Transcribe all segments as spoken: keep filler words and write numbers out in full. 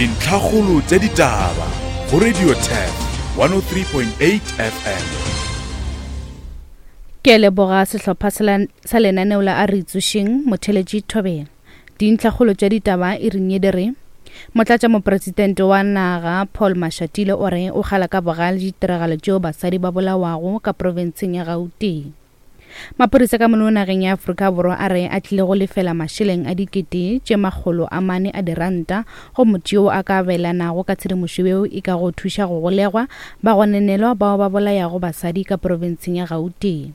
Dintlhakgolo tša ditaba go Radio Turf one oh three point eight F M. Ke leboga sehlopha sa lenaneo la a re tsošeng motheletši Thobela. Dintlhakgolo tša ditaba e reng di re Motlatša mopresidente wa naga Paul Mashatile o re o kgala ka bogale ditiragalo tšeo basadi ba bolawago ka profenseng ya Gauteng. Maphodisa ka mono nageng ya Afrika Borwa a re a tlile go lefela mašeleng a dikete tše makgolo a mane a diranta go motho yo a ka abelanago ka tshedimošo yeo e ka go thuša go golegwa ba gononelwa bao ba bolayago basadi ka profenseng ya Gauteng.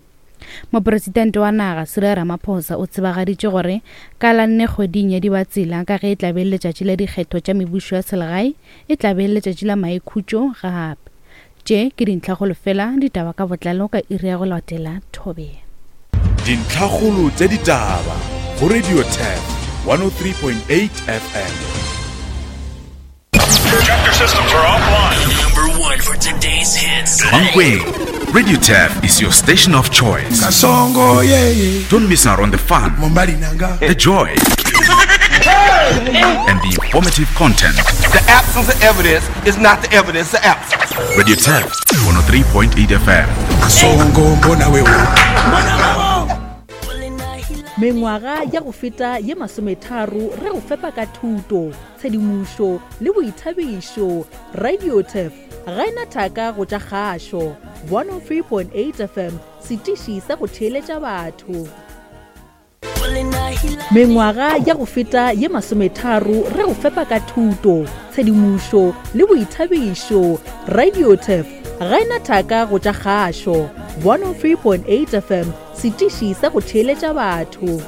Mopresidente wa naga Cyril Ramaphosa o tsebagaditše gore ka la nne kgweding ya Dibatsela ka ge e tla be letšatši la dikgetho tša mebušo ya selegae e tla be letšatši la maikhutšo gape. Tše ke dintlhakgolo fela ditaba ka botlalo ka iri ya go latela Thobela. Dintlhakgolo tša ditaba go Radio Turf one oh three point eight F M. Chapter systems are offline. Number one for today's hits. Mankweng, Radio Turf is your station of choice. Kasongo, yeah, yeah. Don't miss out on the fun, the joy, and the informative content. The absence of evidence is not the evidence of absence. Radio Turf one oh three point eight F M. Kasongo, mbona wewe. Mengwaga ya go feta ye masometharo re go fepa ka thuto, tshedimošo le boithabišo. Radio Turf ga ena thaka go tša kgašo. one oh three point eight F M, setiši sa go theeletša batho. Mengwaga ya go feta ye masometharo re go fepa ka thuto, tshedimošo le boithabišo. Radio Turf ga ena thaka go tša kgašo. one oh three point eight F M, setiši sa go theeletša batho.